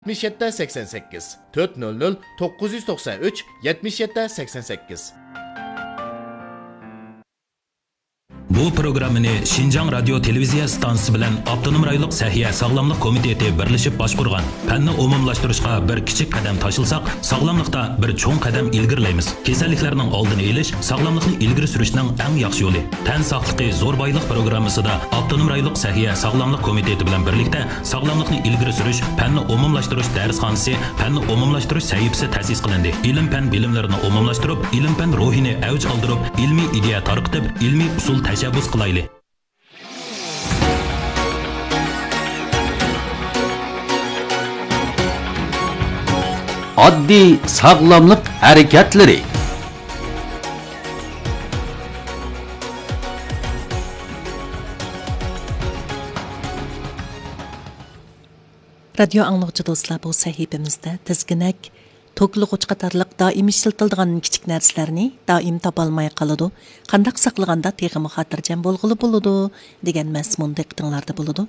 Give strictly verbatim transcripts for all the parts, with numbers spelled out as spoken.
يەتمىش يەتتە سەكسەن سەككىز، تۆت نۆل نۆل توققۇز يۈز توقسان ئۈچ، يەتمىش يەتتە سەكسەن سەككىز. بۇ پروگراممىنى شىنجاڭ رادىيو تېلېۋىزىيە ئىستانسىسى بىلەن ئاپتونوم رايونلۇق سەھىيە ساغلاملىق كومىتېتى بىرلىشىپ باشقۇرغان. پەننى ئومۇملاشتۇرۇشقا بىر كىچىك قەدەم تاشلىساق، ساغلاملىقتا بىر چوڭ قەدەم ئىلگىرىلەيمىز. كېسەللىكلەرنىڭ ئالدىنى ئېلىش ساغلاملىقنى ئىلگىرى سۈرۈشنىڭ ئەڭ ياخشى يولى. تەن ساقلىقى زور بايلىق پروگراممىسىدا ئاپتونوم رايونلۇق سەھىيە ساغلاملىق كومىتېتى بىلەن بىرلىكتە ساغلاملىقنى ئىلگىرى سۈرۈش، پەننى ئومۇملاشتۇرۇش دەرسخانىسى، پەننى ئومۇملاشتۇرۇش سەھىپىسى تەسىس قىلىندى. ئىلىم-پەن بىلىملىرىنى ئومۇملاشتۇرۇپ، ئىلىم-پەن روھىنى ئەۋج ئالدۇرۇپ، ئىلمىي ئىدىيە تارقىتىپ، ئىلمىي ئۇسۇل تەشەببۇس قىلايلى. ئاددىي ساغلاملىق ھەرىكەتلىرى. رادىيو ئاڭلىغۇچى دوستلار، بۇ سەھىپىمىزدە تىزگىنەك، توكلىغۇچ قاتارلىق دائىم ئىشلىتىلىدىغان كىچىك نەرسىلەرنى دائىم تاپالماي قالىدۇ. قانداق ساقلىغاندا تېخىمۇ خاتىرجەم بولغىلى بولىدۇ؟ دېگەن مەزمۇن دىققىتىڭلاردا بولىدۇ.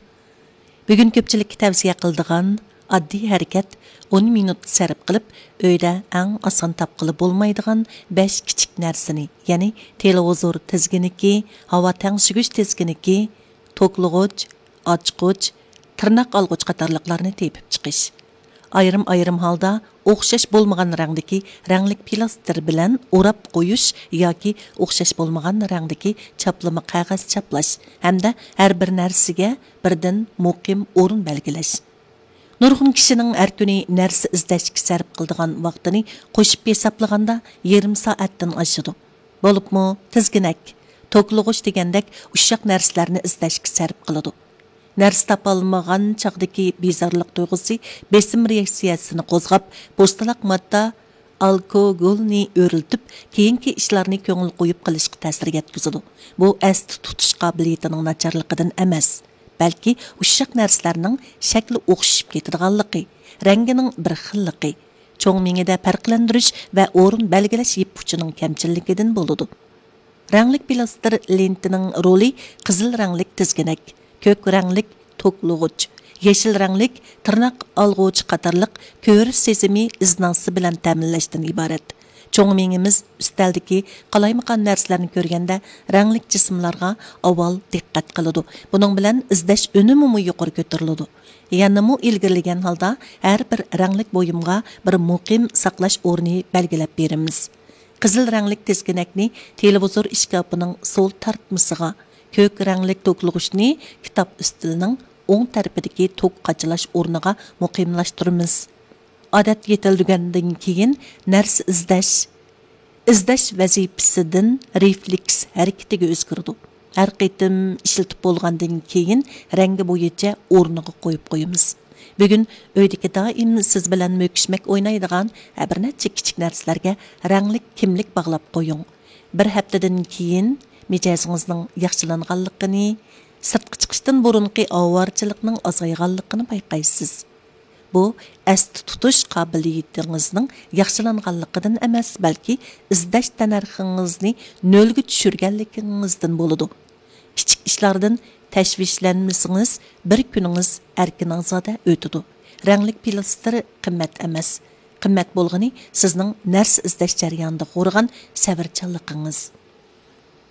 بۈگۈن كۆپچىلىككە تەۋسىيە قىلىدىغان ئاددىي ھەرىكەت، ئون مىنۇت سەرپ قىلىپ، ئۆيدە ئەڭ ئاسان تاپقىلى بولمايدىغان بەش كىچىك نەرسىنى، يەنى تېلېۋىزور تىزگىنىكى، ھاۋا تەڭشىگۈچ تىزگىنىكى، توكلىغۇچ، ئاچقۇچ، تىرناق ئالغۇچ قاتارلىقلارنى تېپىپ چىقىش. ئايرىم-ئايرىم ھالدا ئوخشاش بولمىغان رەڭدىكى رەڭلىك پىلاستېر بىلەن ئوراپ قويۇش ياكى ئوخشاش بولمىغان رەڭدىكى چاپلىما قەغەز چاپلاش ھەمدە ھەر بىر نەرسىگە بىردىن مۇقىم ئورۇن بەلگىلەش. نۇرغۇن كىشىنىڭ ھەر كۈنى نەرسە ئىزدەشكە سەرپ قىلىدىغان ۋاقتىنى قوشۇپ ھېسابلىغاندا، يېرىم سائەتتىن ئاشىدۇ. بولۇپمۇ تىزگىنەك، توكلىغۇچ دېگەندەك ئۇششاق نەرسىلەرنى ئىزدەشكە سەرپ قىلىدۇ. نەرسە تاپالمىغان چاغدىكى بىزارلىق تۇيغۇسى بېسىم رېئاكسىيەسىنى قوزغاپ، پوستىلاق ماددا ئالكوگولنى ئۆرلىتىپ، كېيىنكى ئىشلارنى كۆڭۈل قويۇپ قىلىشقا تەسىر يەتكۈزىدۇ. بۇ ئەستە تۇتۇش قابىلىيىتىنىڭ ناچارلىقىدىن ئەمەس، بەلكى ئۇششاق نەرسىلەرنىڭ شەكلى ئوخشىشىپ كېتىدىغانلىقى، رەڭگىنىڭ بىر خىللىقى، چوڭ مېڭىدە پەرقلەندۈرۈش ۋە ئورۇن بەلگىلەش يىپقۇچىنىڭ كەمچىللىكىدىن بولىدۇ. رەڭلىك پىلاستېر لېنتىنىڭ رولى قىزىل رەڭلىك تىزگىنەك، كۆك رەڭلىك توكلىغۇچ، يېشىل رەڭلىك تىرناق ئالغۇچ قاتارلىق كۆرۈش سېزىمى ئىزناسى بىلەن تەمىنلەشتىن ئىبارەت. چوڭ مېڭىمىز ئۈستەلدىكى قالايمىقان نەرسىلەرنى كۆرگەندە، رەڭلىك جىسىملارغا ئاۋۋال دىققەت قىلىدۇ. بۇنىڭ بىلەن ئىزدەش ئۈنۈمىمۇ يۇقىرى كۆتۈرۈلىدۇ. يەنىمۇ ئىلگىرىلىگەن ھالدا ھەر بىر رەڭلىك بۇيۇمغا بىر مۇقىم ساقلاش ئورنى بەلگىلەپ بېرىمىز. قىزىل رەڭلىك تىزگىنەكنى تېلېۋىزور ئىشكاپىنىڭ سول تارتمىسىغا، كۆك رەڭلىك توكلىغۇچنى كىتاب ئۈستىلىنىڭ ئوڭ تەرىپىدىكى توك قاچىلاش ئورنىغا مۇقىملاشتۇرىمىز. ئادەتكە يېتىلدۈرگەندىن كېيىن نەرسە ئىزدەش، ئىزدەش ۋەزىپىسىدىن رېفلېكس ھەرىكىتىگە ئۆزگىرىدۇ. ھەر قېتىم ئىشلىتىپ بولغاندىن كېيىن رەڭگى بويىچە ئورنىغا قويۇپ قويىمىز. بۈگۈن ئۆيدىكى دائىم سىز بىلەن مۆكۈشمەك ئوينايدىغان بىر نەچچە كىچىك نەرسىلەرگە رەڭلىك كىملىك باغلاپ قويۇڭ. بىر ھەپتىدىن كېيىن مىجەزىڭىزنىڭ ياخشىلانغانلىقىنى، سىرتقا چىقىشتىن بۇرۇنقى ئاۋارىچىلىكنىڭ ئازايغانلىقىنى بايقايسىز. بۇ ئەستە تۇتۇش قابىلىيىتىڭىزنىڭ ياخشىلانغانلىقىدىن ئەمەس، بەلكى ئىزدەش تەننەرخىڭىزنى نۆلگە چۈشۈرگەنلىكىڭىزدىن بولىدۇ. كىچىك ئىشلاردىن تەشۋىشلەنمىسىڭىز، بىر كۈنىڭىز ئەركىن-ئازادە ئۆتىدۇ. رەڭلىك پىلاستېر قىممەت ئەمەس. قىممەت بولغىنى سىزنىڭ نەرسە ئىزدەش جەريانىدا قورغان سەۋرچانلىقىڭىز.